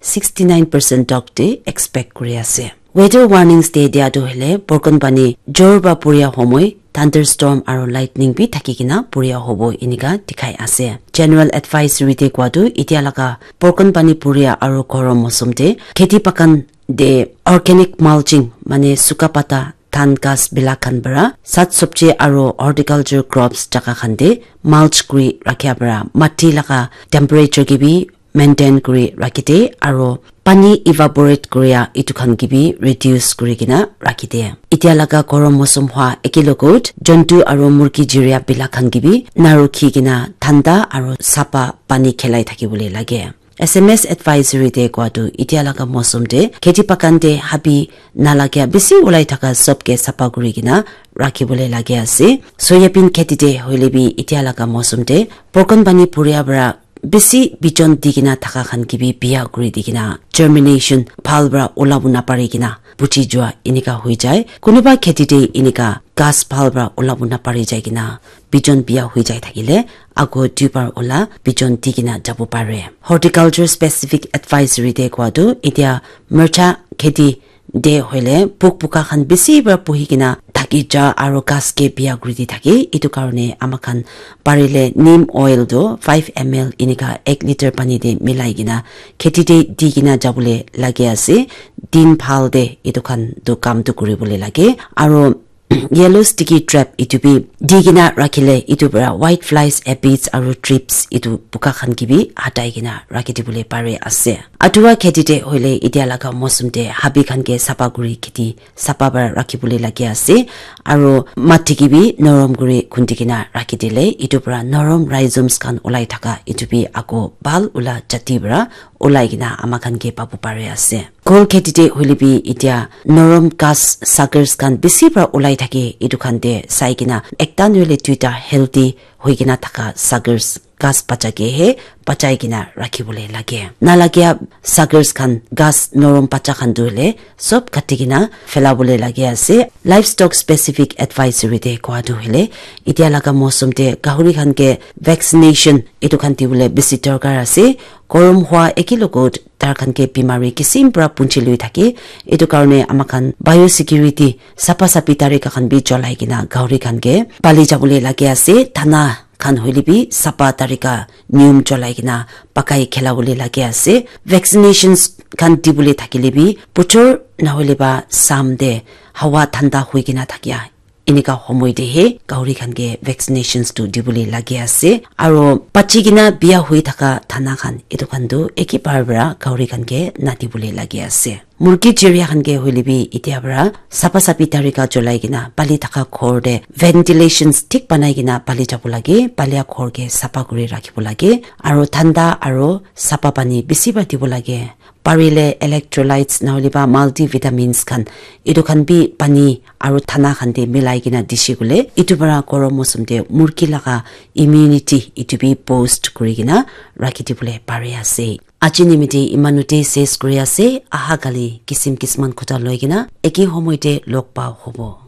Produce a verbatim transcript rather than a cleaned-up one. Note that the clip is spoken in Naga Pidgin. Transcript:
sixty nine percent tok te expect kuri ase. Weather warnings te dia tu hele Porkonpani jor ba puria homoi thunderstorm aro lightning bi thaki kena puria hobo inika dikhai ase. General advisory te kua tu itia laga Porkonpani puria aro gorom mosum te kheti pakan de organic mulching mane suka pata than ghas bilak khan para sat sabji aro horticulture crops jaka khan te mulch kuri rakhia para mati laga temperature ke bi maintain kuri rakhi de aro pani evaporate kuria itu khan ke bi reduce kuri kena rakhi de. Itia laga gorom mosum hwa eke logot jontu aro murgi jiria bilak khan ke bi na rukhi kena thanda aro sapa pani khelai thaki bole lage. S M S advisory te kua tu itia laga mosum te kheti pakan te habi nalagia bisi ulai thaka sob ke sapa kuri kena rakhi bole lage ase. Soyabin kheti te hoile bi itia laga mosum te Porkonpani puria para bisi bijon di kena thaka khan ke bi biya kuri di kena germination bhal para ulabo na pari kena puchi jua inika hui jai. Kunuba kheti te inika ghas bhal para ulabo na pari jai kena bijon biya hui jai thakile ago duibar ula bijon di kena jabo pare. Horticulture specific advisory te kua tu itia mircha kheti de hoile puk puka khan bisi para puhi kena thaki ja aro ghas ke biya kuri di thake. Itu karone ama khan parile neem oil tu five M L inika ek liter pani te milai kena kheti te di kena jabole lage ase. Din bhal te itu khan tu kam tu kuribole lage. Aro yellow sticky trap itu bi di kena rakhile itu para white flies, aphids aro thrips itu puka khan ke bi hatai kena rakhi dibole pare ase. Atua kheti te hoile itia laga mosum te habi khan ke sapa kuri kheti sapa para rakhi bole lage ase aro mati ke bi norom kuri khundi kena rakhi dile itu para norom rhizomes khan ulai thaka itu bi ako bhal ula jati para ulai kena ama khan ke pabu pare ase. Kol kheti te hoile bi itia norom ghas suckers khan bisi para ulai thake itu khan te sai kena ekta nohole duita healthy hoi kena thaka suckers ghas bacha ke he bachai kena rakhi bole lage. Nalagia suckers khan ghas norom bacha khan tu hoile sob kati kena phela bole lage ase. Livestock specific advisory te kua tu hoile itia laga mosum te gahuri khan ke vaccination itu khan dibole bisi dorkar ase. Gorom hwa eke logot tar khan ke bimari kisim para punchi lui thake. Itu karone ama khan biosecurity sapa sapi tarika khan bi cholai kena gahuri khan ke pali jabole lage ase. Thana khan hoile bi sapa tarika niyom cholai kena pakai khela bole lage ase. Vaccinations khan dibole thakile bi puchor nahole ba sam te hawa thanda hui kena thakia enika homoi te he gahuri khan ke vaccinations tu dibole lage ase. Aro bachi kena biya hui thaka thana khan itu khan tu eke bar para gahuri khan ke nadibole lage ase. Murgi chiria khan ke hoile bi itia para sapa sapi tarika cholai kena pali thaka ghor te ventilations thik banai kena pali jabo lage. Palia ghor ke sapa kuri rakhibo lage aro thanda aro sapa pani bisi para dibo lage. Parile electrolytes nahole ba multivitamins khan itu khan bi pani aro thana khan te milai kena dishi kule itu para gorom mosum te murgi laga immunity itu bi boost kuri kena rakhi dibole pare ase. Aji nimite imanute ses kuri ase. Aha kali kisim kisman khuta loi kena eke homoi te log pa hobo.